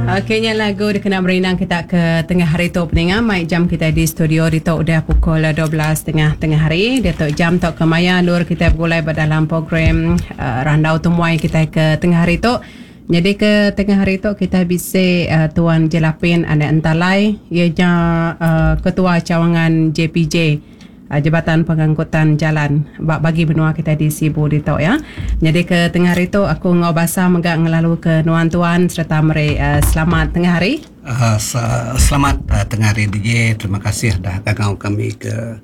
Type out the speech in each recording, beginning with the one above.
Okey nya lagu dikena merindang kita ke tengah hari tu peninga mai jam kita di studio ditu udah pukul 12 tengah tengah hari diatu jam tu ke maya endur kita begulai ba dalam program uh, randau temuai kita ke tengah hari tu. Nyadi ke tengah hari tu kita bisi uh, Tuan Jelapin Anak Entalai iya nya uh, Ketua Cawangan JPJ Jabatan Pengangkutan Jalan ba bagi menua kitai di Sibu ditu ya. Nyadi ke tengah hari tu aku enggau basa mega ngelalu ke nuan tuan sereta meri selamat tengah hari. Selamat tengah hari DJ. Terima kasih dah gagau kami ke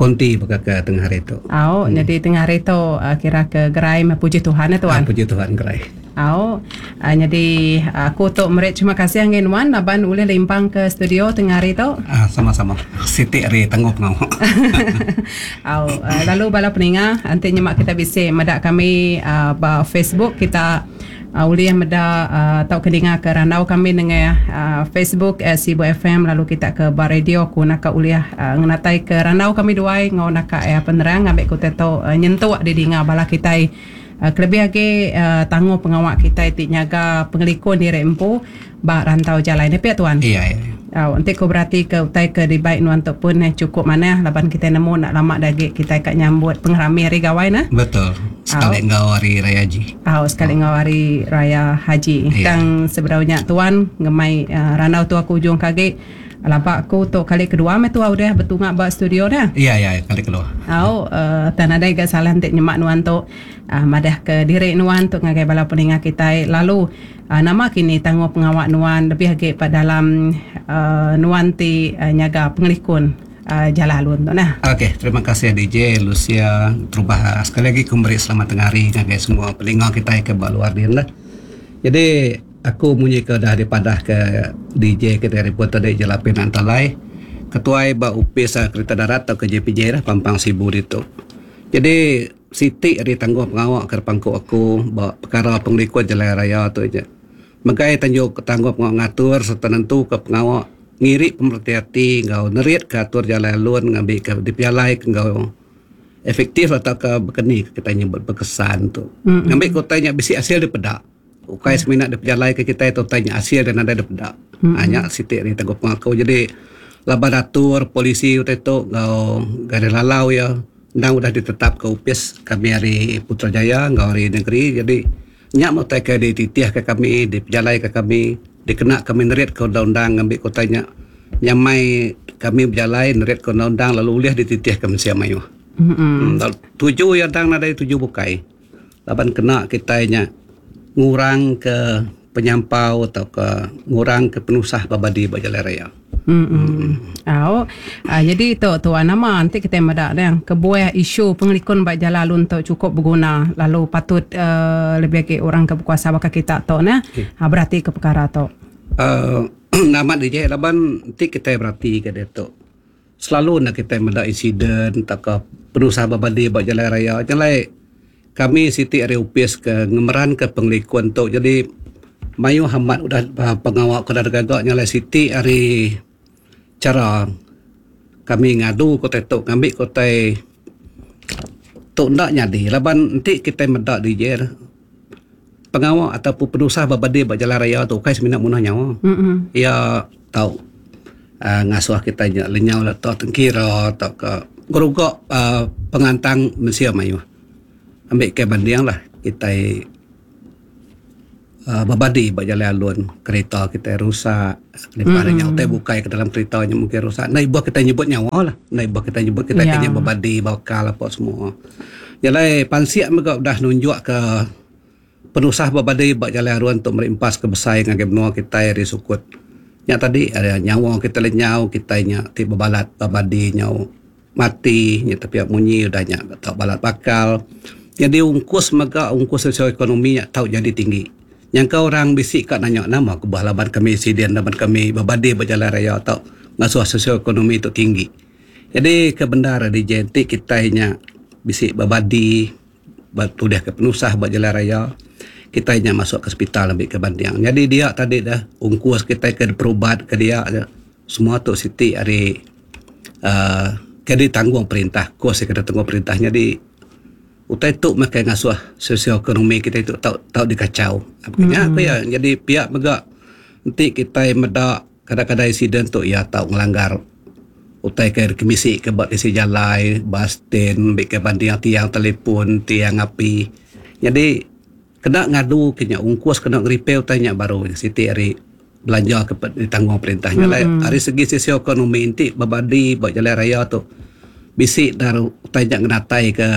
konti baka ke tengah hari tu. Au, nyadi tengah hari tu kira ke gerai meh puji Tuhan eh tuan. Puji Tuhan gerai. Au. Nyadi aku tu meri terima kasih ngagai nuan laban ulih limpang ke studio tengah hari tu. Sama-sama. Siti ari tangguh pengawa. Au. Lalu bala peninga enti nyema kita bisi meda kami ba Facebook kita ulih meda tauka ninga ke randau kami nengah Facebook Sibu FM lalu kita ke ba radio ku naka ulih ngenatai ke randau kami duai enggau naka penerang ngambi ku te tu nyentuk didinga bala kitai. Kelebih agi tanggung pengawa kitai ti nyaga pengelikun diri empu ba rantau jalai ne pia tuan. Iya iya. Au enti ku berati ke utai ke dibai nuan tu pun chukup manah laban kitai nemu enda lama da agi kitai ka nyambut pengerami hari gawai ne. Betul. Sekali enggau hari raya haji. Au sekali enggau hari raya haji. Iya. Tang sebedau nya tuan ngemai randau tu aku ujung ke agi. Laba aku tu kali kedua meh tua udah betunga ba studio dah. Iya iya kali kedua. Au uh, tang nadai ga salah enti nyema nuan tu uh, madah ke diri nuan tu ngagai bala peninga kitai lalu uh, nama kini tanggung pengawa nuan lebih agi pa dalam uh, nuan ti uh, nyaga pengelikun uh, jalai alun tu nah. Okey, terima kasih DJ Lucia. Terubah sekali agi ku meri selamat tengah hari ngagai semua peninga kitai ke ba luar din lah. Jadi Aku munyi ke udah dipadah ke DJ ke ti repot tadi Jelapin Antalai, ketuai ba Opis Kereta Darat tauka JPJ lah pampang Sibu ditu. Jadi siti ari tanggung pengawa ke dipangku aku ba pekara pengelikun jalai raya tu nya megai tanju tanggung pengawa ngatur sereta nentuka pengawa ngiri pemereti ati enggau neritka atur jalai alun ngambika dipejalaika enggau efektif tauka baka ni kitai nyebut bekesan tu. Ngambika utai nya bisi asil dipeda. Ukai semina dipejalaika kitai tu utai nya asil iya nadai dipeda. Mm-hmm. Nya siti ari tangguh pengaku. Jadi laban atur polisi utai tu enggau garis lalau iya endang udah ditetapka opis kami ari Putrajaya enggau ari negeri. Jadi nya meh utai ke dititihka kami, dipejalaika kami, dikena kami neritka undang-undang ngambika utai nya nyamai kami bejalai neritka undang-undang lalu ulih dititihka mensia mayuh. Mm-hmm. Tuju iya endang nadai tuju bukai. Laban kena kitai nya ngurangka penyampau tauka ngurangka penusah ba badi ba jalai raya. Emm. Au. Nyadi tu tuan nama enti kitai meda deh kebuah isu pengelikun ba jalai alun tu chukup beguna lalu patut uhh lebih agi orang ke bekuasa baka kita tu neh beratika pekara tu. Uhh amat ije laban enti kitai beratika diatu. Selalu enda kitai meda insiden tauka penusah bebadi ba jalai raya. Nya alai kami siti ari opis ke ngemeranka pengelikun tu jadi mayuh amat udah pengawa ke udah digaga nya alai siti ari chara kami ngadu ke utai tu ngambi ke utai tu enda nyadi laban enti kitai meda dije pengawa ataupun penusah bebadi ba jalai raya tu ukai semina munuh nyawa. Iya tau uhh ngasuh kitai nya lenyau leto tengkira tauka ngeruga uhh pengantang mensia mayuh. Ambi ke banding lah kitai uhh bebadi ba jalai alun kerita kitai rusak kelimpah ari nya utai bukai ke dalam kerita nya mungkin rusak. Enda ibuh kitai nyebut nyawa lah enda ibuh kitai nyebut kitai ke nya bebadi bakal apa semua. Jalai pansik mega udah nunjuk ke Penusah ba badi ba Jalai Arun tu meri empas ke besai ngagai menua kitai ari sukut nya tadi ari nyawa kitai lenyau kitai nya ti bebalat ba badi nyau mati nya tepiak munyi udah nya tau balat bakal. Nyadi ungkus mega ungkus sosioekonomi nya tau jadi tinggi. Nyangka orang bisi ka nanya nama kebuah laban kami siden laban kami bebadi ba jalai raya tau ngasuh sosioekonomi tu tinggi. Nyadi ke bendar ari enti kitai nya bisi bebadi Ba tulih ke penusah ba jalai raya, kitai nya masuk ke sepital ambi ke banding. Nyadi dia tadi deh ungkus kitai ke berubat ke dia nya semua tu siti ari uhh ke ditanggung perintah kos ke ditanggung perintah nyadi utai tu meh ke ngasuh sosioekonomi kitai tu tau tau dikachau. Nya ku iya nyadi pia mega. Enti kitai meda kadang-kadang insiden tu iya tau ngelanggar utai ke kemisi ke ba tisi jalai, bas stand, ambi ke banding tiang telefon, tiang api. Nyadi kena ngadu ke nya ungkus kena ngerepair utai nya baru siti ari belanja ke ditanggung perintah. Nya alai ari segi sosioekonomi enti bebadi ba jalai raya tu bisi da utai nya ngenatai ke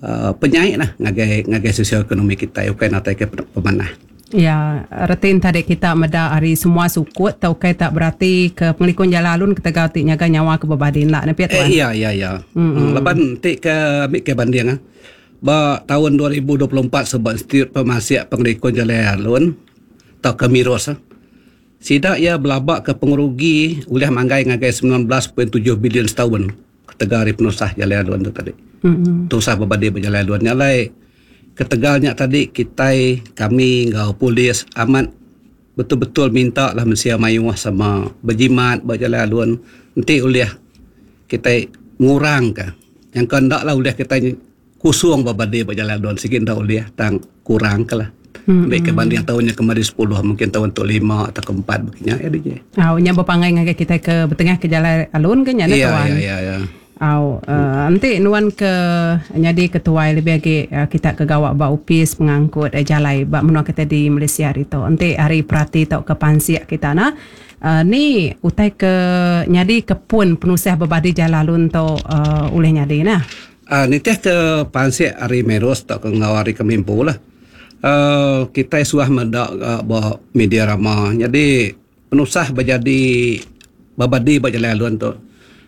uhh penyai lah ngagai ngagai sosioekonomi kitai ukai natai ke pemanah. Iya, reti enti tadi kita meda ari semua sukut tau ukai tak berati ke pengelikun jalai alun ketegal ti nyaga nyawa ke bebadi enda ne pia tuan. Iya iya iya. Laban enti ke ambi ke banding ah ba taun 2024 suba Institut Pemasik Pengelikun Jalai Alun tauka MIROS sida iya belaba ke pengerugi ulih manggai ngagai 19.7 bilion setaun ketegal ari penusah jalai alun tu tadi. Tusah bebadi ba jalai alun nya alai ketegal nya tadi kitai kami enggau polis amat betul-betul minta lah mensia mayuh sama bejimat ba jalai alun enti ulih kitai ngurangka nyangka enda lah ulih kitai Kusung ba badi ba jalai alun sigi enda ulih tang kurang ke lah. Ambi ke banding taun nya kemari sepuluh mungkin taun tu lima atau ke empat baka nya ya DJ. Au nya bepangai ngagai kitai ke betengah ke jalai alun ke nya neh tuan. Ya ya ya. Au uhh enti nuan ke nyadi ketuai lebih agi kita ke gawa ba opis pengangkut jalai ba menua kitai di Malaysia ditu enti ari perati tauka pansik kita ne uhh ni utai ke nyadi ke pun penusah bebadi jalai alun tu uhh ulih nyadi neh. Aaa nitih ke pansik ari Meros tauka enggau ari kami empu lah aaa kitai suah meda ba media rama nyadi penusah bejadi bebadi ba jalai alun tu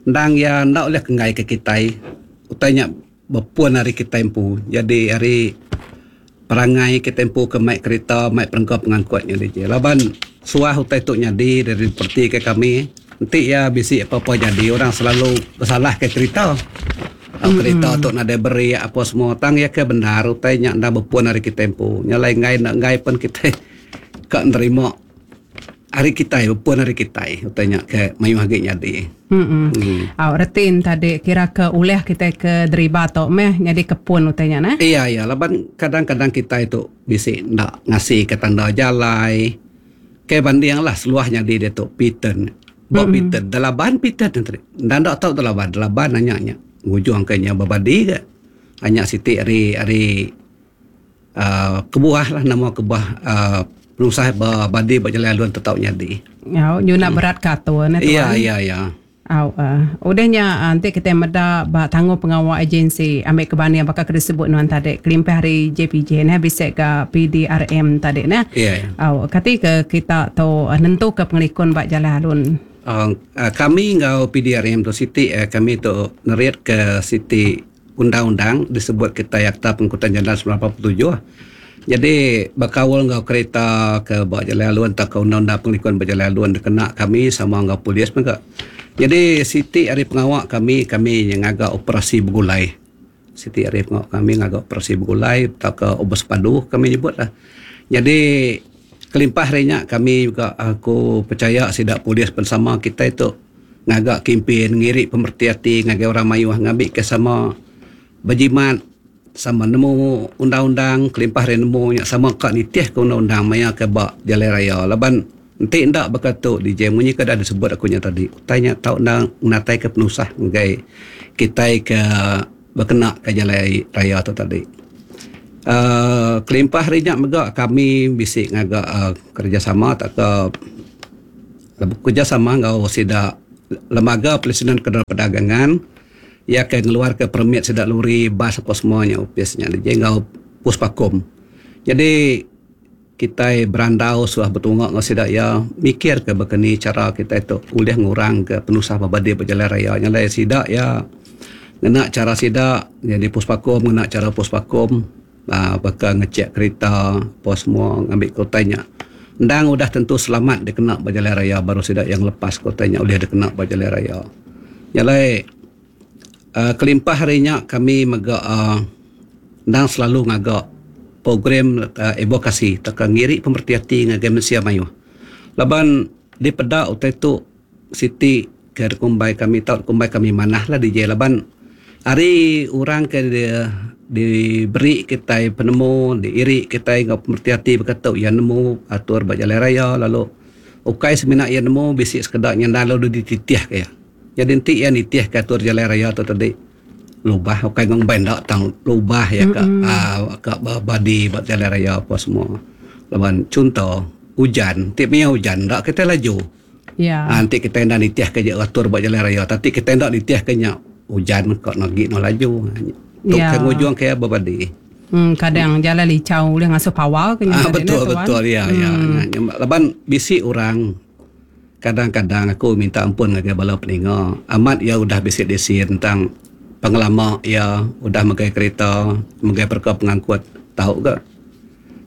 endang iya enda ulih kenggai ke kitai utai nya bepun ari kitai empu jadi ari perangai kitai empu ke mai kerita mai perengka pengangkut nya diji laban suah utai tu nyadi dari perti ke kami enti iya bisi apa apa jadi orang selalu besalah ke kerita kerita tu nadai beri apa semua tang iya ke bendar utai nya enda bepun ari kitai empu nya alai enggai enda enggai pen kitai ka nerima Ari kitai bepun ari kitai utai nya ke mayuh agi nyadi. Hmm. Au reti ne tadi kira ke ulih kitai ke deriba tu meh nyadi ke pun utai nya neh. Iya iya laban kadang-kadang kitai tu bisi enda ngasi ke tanda jalai. Ke banding lah seluah nyadi diatu P-turn. Ba P-turn delaban P-turn ne tadi. Enda enda tau delaban delaban anya nya ngujung ke nya bebadi ga. Anya siti ari ari uhh kebuah lah nama kebuah uhh penusah ba badi ba jalai alun tu tau nyadi. Au nyuna berat ke atur neh tuan. Iya iya iya. Au uhh udah nya enti kitai meda ba tanggung pengawa agensi ambi ke banding baka ke disebut nuan tadi kelimpah ari JPJ neh bisi ga PDRM tadi neh. Iya iya. Au kati ke kita tu nentu ke pengelikun ba jalai alun. Uhh kami enggau PDRM tu siti kami tu nerit ke siti undang-undang disebut kitai Akta Pengangkutan Jalan 1987. Nyadi bekaul enggau kerita ke ba jalai alun tauka undang-undang pengelikun ba jalai alun dikena kami sama enggau polis mega. Nyadi siti ari pengawa kami, kami ngaga operasi begulai. Siti ari pengawa kami ngaga operasi begulai tauka bersepadu kami nyebut lah. Nyadi kelimpah ari nya kami mega aku pechaya sida polis pen sama kitai tu ngaga kimpin ngiri pemereti ati ngagai orang mayuh ngambika sama bejimat sama nemu undang-undang kelimpah ari nemu nya sama ka nitihka undang-undang maya ke ba jalai raya laban enti enda baka tu DJ munyi ke dah disebut aku nya tadi utai nya tau enda ngenataika penusah ngagai kitai ke bekena ka jalai raya tu tadi. Aaa kelimpah ari nya mega kami bisi ngaga aaa kerejasama tauka Bekerejasama enggau sida Lembaga Pelesenan Kenderaan Perdagangan iya ke ngeluarka permit sida lori, bas apa semua nya opis nya ji enggau Puspakom. Nyadi kitai berandau suah betunga enggau sida iya mikirka baka ni chara kitai tu ulih ngurangka penusah bebadi ba jalai raya. Nya alai sida iya ngena chara sida nyadi Puspakom ngena chara Puspakom. Aaa baka ngechek kerita apa semua ngambi ke utai nya endang udah tentu selamat dikena ba jalai raya baru sida iya ngelepas ke utai nya ulih dikena ba jalai raya. Nya alai aaa kelimpah ari nya kami mega aaa endang selalu ngaga program aaa advokasi tauka ngiri pemereti ati ngagai mensia mayuh laban dipeda utai tu siti ke dikumbai kami tau dikumbai kami manah lah DJ laban. Ari orang ke diberi kitai penemu, diiri kitai enggau pemereti ati baka tu iya nemu atur ba jalai raya lalu ukai semina iya nemu bisi sekeda nya endang lalu dititihka iya. Nyadi enti iya nitihka atur jalai raya tu tadi lubah ukai ngumbai enda tang lubah iya ka uhh ka badi ba jalai raya apa semua. Laban chunto ujan ti maya ujan enda kitai laju. Ya. Ha, enti kitai enda nitihka je atur ba jalai raya tapi kitai enda nitihka nya ujan ka agi no laju. Tu Ya. ke ngujung ke bebadi. Kadang jalai licau ulih ngasuh pawa ke nya Ah, tadi betul neh tuan. betul ya ya. Laban bisi orang kadang-kadang aku minta ampun ngagai bala peninga amat iya udah bisi lesen tang pengelama iya udah megai kereta megai pereka pengangkut tau ga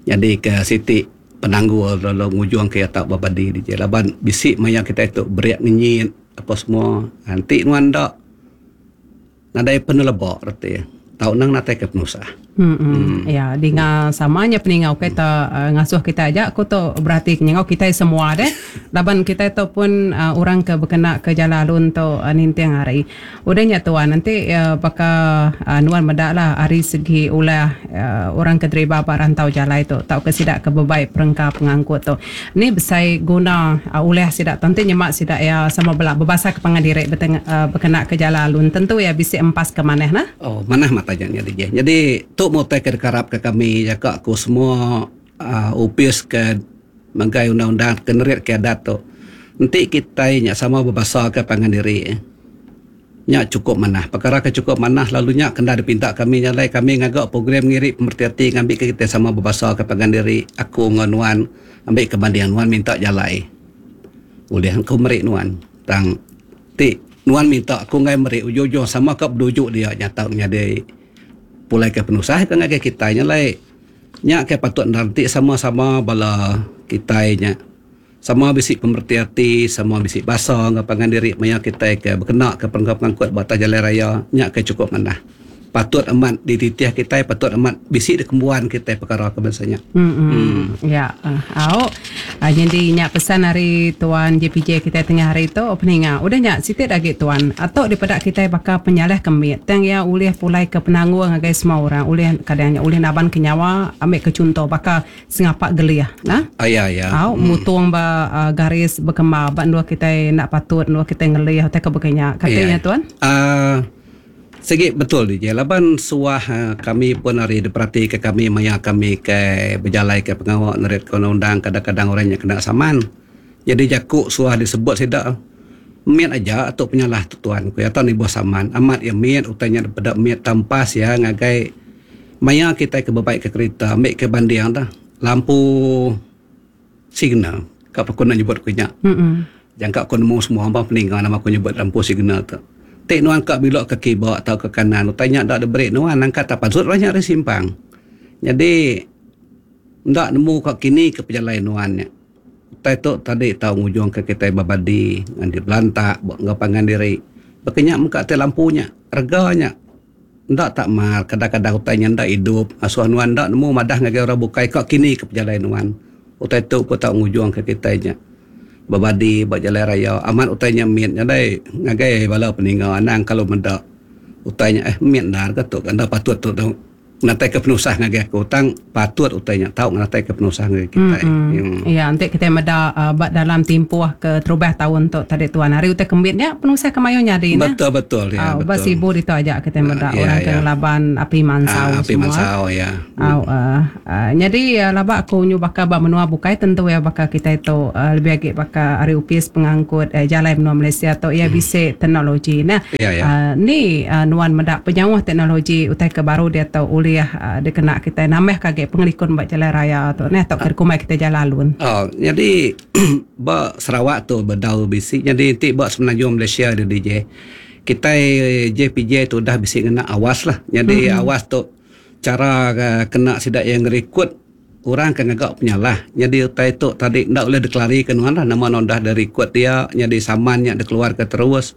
nyadi ke siti penanggul lalu ngujung ke iya tau bebadi diji laban bisi maya kitai tu berik ngenyit apa semua enti nuan enda nadai peneleba reti tau nang natai ke penusah. Hmm. Ya, dinga sama nya peninga ukai ta ngasuh kitai aja ku tu berati ke nyengau kitai semua deh. Laban kitai tu pun orang ke bekena ke jalai alun tu ninting hari. Udah nya tuan enti baka nuan meda lah ari segi ulah orang ke deriba ba rantau jalai tu tauka sida ke bebai perengka pengangkut tu. Ni besai guna ulah sida tu enti nyema sida iya sama bela bebasa ke pangan diri bekena ke jalai alun tentu iya bisi empas ke manah nah. Oh manah mata nya nyadi je. Nyadi tu meh utai ke dikarap ke kami jaka ku semua uhh opis ke megai undang-undang ke nerit ke adat tu. Enti kitai nya sama bebasa ke pangan diri nya chukup manah. Pekara ke chukup manah lalu nya kenda dipinta kami nya alai kami ngaga program ngiri pemereti ati ngambika kitai sama bebasa ke pangan diri aku enggau nuan ambi ke banding nuan minta jalai ulih aku meri nuan tang ti nuan minta aku enggai meri ujung-ujung sama ka beduju dia nya tau nyadi pulai ke penusah ke ngagai kitai nya alai nya ke patut endar enti sama-sama bala kitai nya. Sama bisi pemereti ati, sama bisi basa enggau pangan diri maya kitai ke bekenaka perengka pengangkut ba atas jalai raya nya ke chukup manah. Patut amat dititih kitai, patut amat bisi dikembuan kitai pekara ke bansa nya. Hmm. Ya, au. Nyadi nya pesan ari tuan JPJ kitai tengah hari tu peninga. Udah nya siti da agi tuan. Atok dipeda kitai baka penyalah ke mit tang iya ulih pulai ke penanggul ngagai semua orang. Ulih kadang nya ulih naban ke nyawa ambi ke chunto baka Sengapa gelih nah. Aya ya. Au mutung ba garis bekemba ba endur kitai enda patut endur kitai ngelih utai ke baka nya. Kati nya tuan? Aaa sigi betul DJ laban suah kami pun ari diperatika kami maya kami ke bejalaika pengawa neritka undang-undang kadang-kadang orang nya kena saman. Jadi jaku suah disebut sida mit aja tu penyalah tu tuan ku iya tau nibuh saman. Amat iya mit utai nya dipeda mit tampas iya ngagai Maya kitai ke bebaika kerita ambi ke banding dah lampu signal ka pun aku enda nyebut ku nya. Jangka ku nemu semua ba peninga nama ku nyebut lampu signal tu. Ti nuan ka bilok ke kiba tauka ke kanan utai nya enda diberi nuan nangka tak pansut lah nya ari simpang. Nyadi enda nemu ka kini ke pejalai nuan nya. Utai tu tadi tau ngujungka kitai bebadi ngan dibelantak enggau pangan diri. Baka nya mega ti lampu nya rega nya. Enda tak mar, kadang-kadang utai nya enda idup, asuh nuan enda nemu madah ngagai orang bukai ka kini ke pejalai nuan. Utai tu pun tau ngujungka kitai nya bebadi ba jalai raya. Amat utai nya mit nyadai ngagai bala peninga anang kalu meda utai nya eh mit endar ke tu enda patut tu Ngenataika penusah ngagai aku tang patut utai nya tau ngenataika penusah ngagai kitai. Hmm. Ya enti kitai meda ba dalam timpuh ke terubah taun tu tadi tuan hari utai kembit nya penusah ke mayuh nyadi neh. Betul betul ya betul. Ba Sibu ditu aja kitai meda orang ke ngelaban api mansau semua. Api mansau ya. Au nyadi laba aku nyu baka ba menua bukai tentu iya baka kitai tu lebih agi baka ari opis pengangkut jalai menua Malaysia tu iya bisi teknologi neh. Ni nuan meda penyauh teknologi utai ke baru diatu ulih dikena kitai nambahka agi pengelikun ba jalai raya tu neh tauka dikumbai kitai jalai alun. Nyadi ba Sarawak tu bedau bisi nyadi enti ba Semenanjung Malaysia tu DJ kitai JPJ tu udah bisi ngena awas lah. Nyadi awas tu chara kena sida iya ngerikut orang ke ngaga penyalah. Nyadi utai tu tadi enda ulih dikelarika nuan lah nama nuan udah dirikut dia nyadi saman nya dikeluarka terus.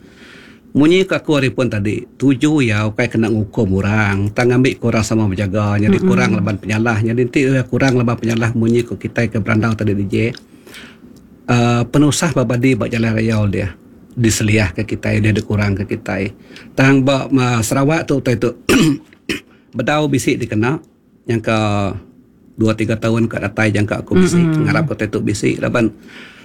Munyi ke aku ari pun tadi tuju iya ukai kena ngukum orang tang ngambi ke orang sama bejaga nyadi kurang laban penyalah. Nyadi enti kurang laban penyalah munyi ku kitai ke berandau tadi DJ uhh penusah ba badi ba jalai raya ulih. diseliahka kitai ulih dikurangka kitai. Tang ba Sarawak tu utai tu bedau bisi dikena nyangka dua tiga taun ka datai jangka aku bisi ngarap utai tu bisi laban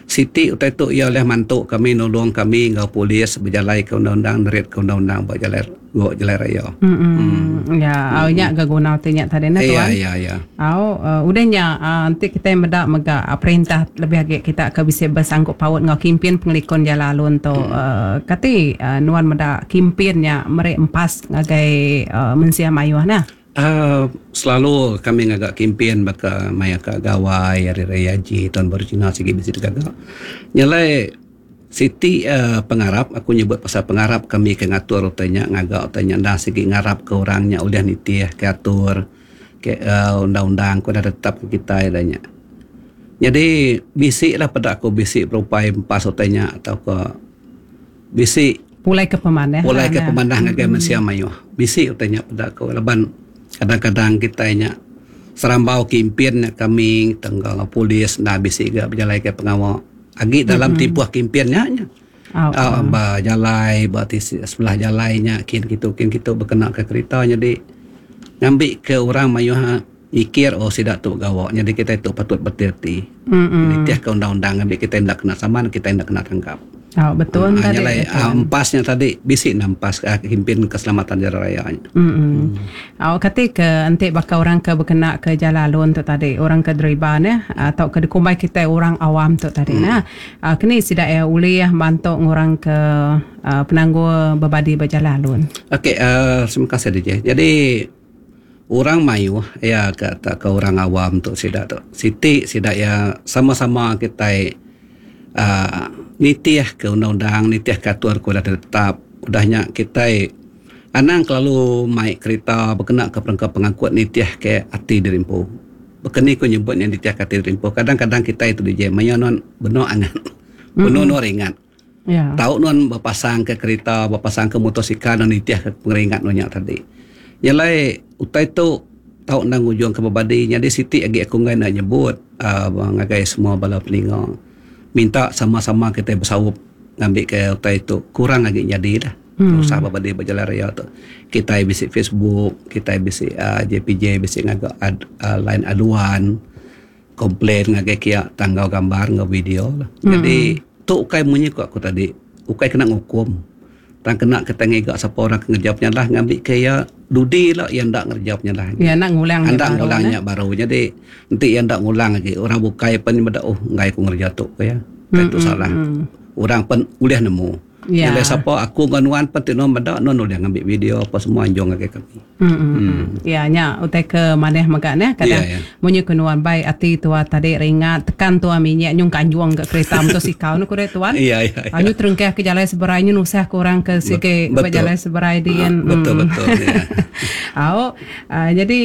siti utai tu iya ulih mantu kami nulung kami enggau polis bejalaika undang-undang neritka undang-undang ba jalai ba jalai raya. Mm ya au nya ga guna ti nya tadi nah tuan. Ya ya ya. Au udah nya enti kitai meda mega perintah lebih agi kita ke bisi besangkup paut enggau kimpin pengelikun jalai alun tu kati nuan meda kimpin nya meri empas ngagai mensia mayuh nah. Aaa selalu kami ngaga kimpin baka maya ka gawai hari raya haji taun baru cina sigi bisi digaga. Nya alai siti aaa pengarap aku nyebut pasal pengarap kami ke ngatur utai nya ngaga utai nya endang sigi ngarap ke orang nya ulih nitih ke atur ke aaa undang-undang ke udah ditetap ke kitai da nya. Nyadi bisi lah peda aku bisi berupai empas utai nya tauka bisi pulai ke pemanah pulai ke pemanah ngagai mensia mayuh bisi utai nya peda ku laban kadang-kadang kitai nya serambau kimpin nya kami enggau polis enda bisi ga bejalaika pengawa agi dalam timpuh kimpin nya nya um ba jalai ba tisi sebelah jalai nya kin kitu kin kitu bekena ka kerita nyadi ngambi ke orang mayuh mikir oh sida tu gawa nyadi kitai tu patut bereti-reti nitihka undang-undang ngambi kitai enda kena saman kitai enda kena tangkap. Oh betul Aa tadi. Nya alai empas nya tadi bisi enda empas kimpin keselamatan jalan raya nya. Mm. Au kati ke enti baka orang ke bekena ke jalan alun tu tadi orang ke deriba neh tauka dikumbai kitai orang awam tu tadi neh. Keni sida iya ulih mantu ngurang ke penanggul bebadi ba jalan alun. Okey aaa terima kasih DJ. Jadi Orang mayuh iya ka tauka orang awam tu sida tu siti sida iya sama-sama kitai uhh nitih ke undang-undang nitih ke atur ke udah ditetap. Udah nya kitai anang kelalu mai kerita bekena ke perengka pengangkut nitih ke ati diri empu. Baka ni ku nyebut nya nitih ke ati diri empu kadang-kadang kitai tu dije mayuh nuan benung angat benung nuan ringat. Tau nuan bepasangka kerita, bepasangka motosikal nuan nitihka pengeringat nuan nya tadi. Nya alai utai tu tau enda ngujungka bebadi nyadi siti agi aku enggai enda nyebut uhh ngagai semua bala peninga minta sama-sama kitai besaup ngambika utai tu kurang agi nyadi lah. Tusah bebadi ba jalai raya tu. Kitai bisi Facebook, kitai bisi uhh JPJ bisi ngaga line aduan. Complain ngagai kia tang enggau gambar enggau video lah. Jadi tu ukai munyi ku aku tadi ukai kena ngukum tang kena kitai ngiga sapa orang ke ngereja penyalah ngambika iya dudi ila iya enda ngereja penyalah agi. Iya enda ngulang nya Enda ngulang nya baru. Jadi enti iya enda ngulang agi orang bukai pen meda oh enggai ku ngereja tu ku iya. Ukai tu salah. Orang pen ulih nemu. Ya. Nyelai sapa aku enggau nuan pen ti nuan meda nuan ulih ngambi video apa semua anjung ngagai kami. Hmm. Ya nya utai ke manah mega neh kadang Ya, ya. munyi ke nuan bai ati tua tadi ringat tekan tua minyak nyung kanjung ga kereta motosikal nu ku deh tuan. Ya, ya, ya. Nyu terengkah ke jalai seberai nyu nusah ke orang ke sigi ba Betul. jalai seberai din. Betul betul ya. Au jadi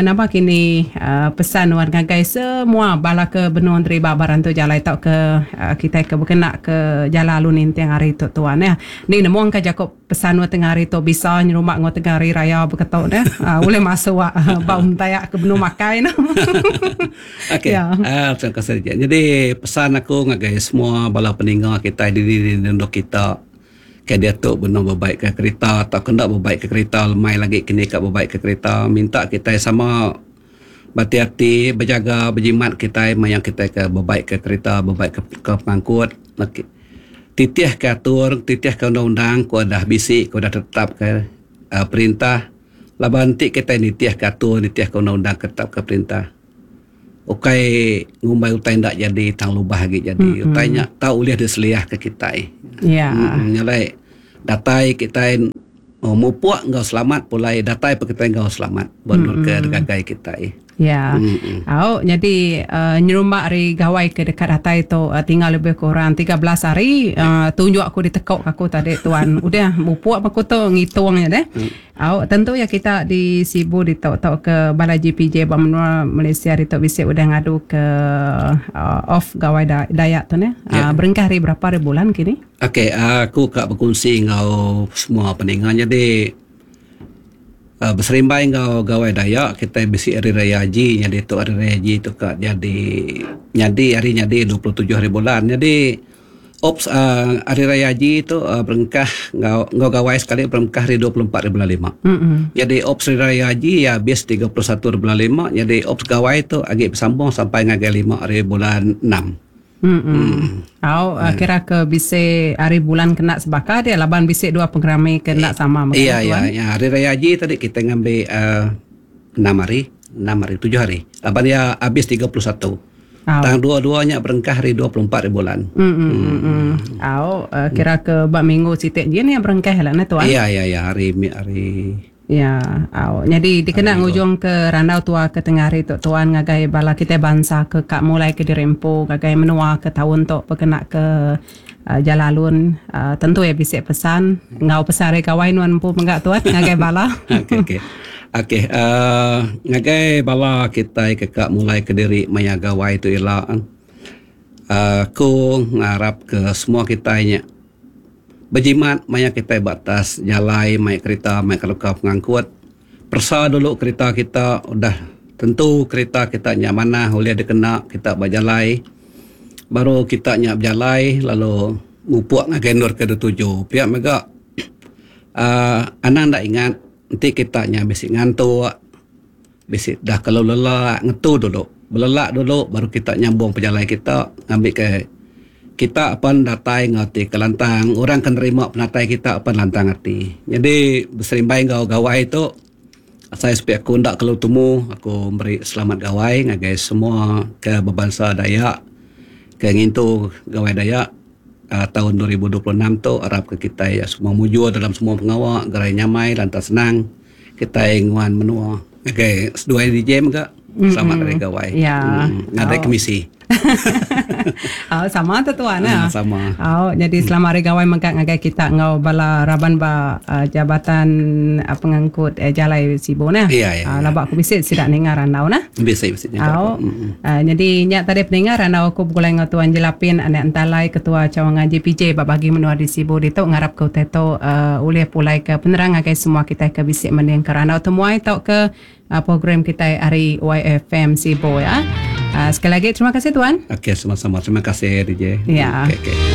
namba kini pesan nuan ngagai semua bala ke benung deriba ba rantu jalai tauka kitai ke bekena ke jala lalu ninting hari tu tuan neh. Ni nemu engka jaku pesan nuan tengah hari tu bisa nyerumba enggau tengah hari raya beketu neh ulih masuk ba untak ke benung makai ne. Okey Ya. Terima kasih Jadi pesan aku ngagai semua bala peninga kitai dini dini endur kita Ke diatu benung bebaik ka kerita tauka enda bebaik ka kerita lemai lagi kini ka bebaik ka kerita minta kitai sama behati-hati bejaga bejimat kitai maya kitai ke bebaik ka kerita bebaik ka ka pengangkut titih ka atur titih ka undang-undang ku dah bisi ku dah tetap ka uhh perintah laban enti kitai nitih ka atur nitih ka undang-undang ke tetap ka perintah. Ukai ngumbai utai enda jadi tang lubah agi jadi. Utai nya tau ulih diseliahka kitai. Ya. Nya alai datai kitai mupuk enggau selamat pulai datai pun kitai enggau selamat ba endur ke digagai kitai. Ya. Au nyadi nyerumba ari gawai ke deka datai tu tinggal lebih kurang 13 hari tunjuk aku ditekuk aku tadi tuan. Udah mupuk aku tu ngitung nya deh. Au, tentu iya kita di Sibu ditu tauka bala JPJ ba menua Malaysia ditu bisi udah ngadu ke off Gawai Dayak tu neh. Ya. Berengkah hari berapa hari bulan kini? Okey, aku ka bekunsi enggau semua peninga nyadi beserimbai enggau Gawai Dayak kitai bisi Hari Raya Haji nyadi tu Hari Raya Haji tu ka jadi nyadi hari nyadi 27 hari bulan. Nyadi. Ops uh, Hari Raya Haji tu uh, berengkah enggau enggau gawai sekali berengkah hari 24 hari bulan 5. Jadi Ops Hari Raya Haji ya habis 31 hari bulan 5. Jadi Ops gawai tu agi bersambung sampai ngagai 5 hari bulan 6. Au uh, kira ke bisi hari bulan kena sebaka dia laban bisi dua pengerami kena sama Iya iya ya Hari Raya Haji tadi kita ngambil 6 hari, 6 hari, 7 hari. Laban dia habis 31. Tang dua-duanya berengkah hari 24 hari bulan. Au uh, kira ke bak minggu sitik je ni berengkah lah ne tuan. Iya iya iya hari hari Ya, au. Jadi dikena ngujung ke randau tua ke tengah hari tu tuan ngagai bala kita bangsa ke kak mulai ke dirempo ngagai menua ke tahun tu berkena ke uh, jalalun uh, tentu ya bisa pesan ngau pesan hari gawai nuan empu menggak tuan ngagai bala. Okey okey. Okey, ngagai bala kita ke kak mulai ke diri maya gawai tu ila. Aku ngarap ke semua kita nya berjimat maya kita batas jalai, maya kereta, maya keluka pengangkut. Persa dulu kereta kita udah tentu kereta kita nya mana boleh dikena kita berjalai. Baru kita nya berjalai lalu ngupuk ngagai nur ke tuju. Pihak mega anang dak ingat nanti kita nya bisi ngantuk, bisi dah kalau lelak ngetu dulu. Belelak dulu baru kita nyambung perjalanan kita ngambil ke kita apa datai ngati ke lantang orang kan nerima penatai kita apa lantang hati. Jadi berserimbai ngau gawai tu saya sepi aku ndak kalau temu aku beri selamat gawai ngagai semua ke berbangsa Dayak ke ngintu gawai Dayak tahun 2026 tu harap ke kita ya semua mujur dalam semua pengawak gerai nyamai lantas senang kita nguan menua. Okey, seduai DJ juga selamat hari gawai. Ya. Ada kemisi. Oh, sama tu tuan ya. Sama. Oh, jadi selamat hari gawai mengkat ngagai kita ngau bala raban ba jabatan pengangkut jalai Sibu nah. Iya, iya. Labak aku bisi sidak ningar randau nah. Bisi bisi. Oh. Jadi nyak tadi peningar randau aku begulai ngau tuan Jelapin anak entalai ketua cawangan JPJ ba bagi menua di Sibu ditu ngarap ke teto ulih pulai ke penerang ngagai semua kita ke bisi mending ke randau temuai tau ke program kita hari YFM Sibu ya. Sekali lagi terima kasih tuan. Okey, sama-sama. Terima kasih DJ. Ya. Okey, okey.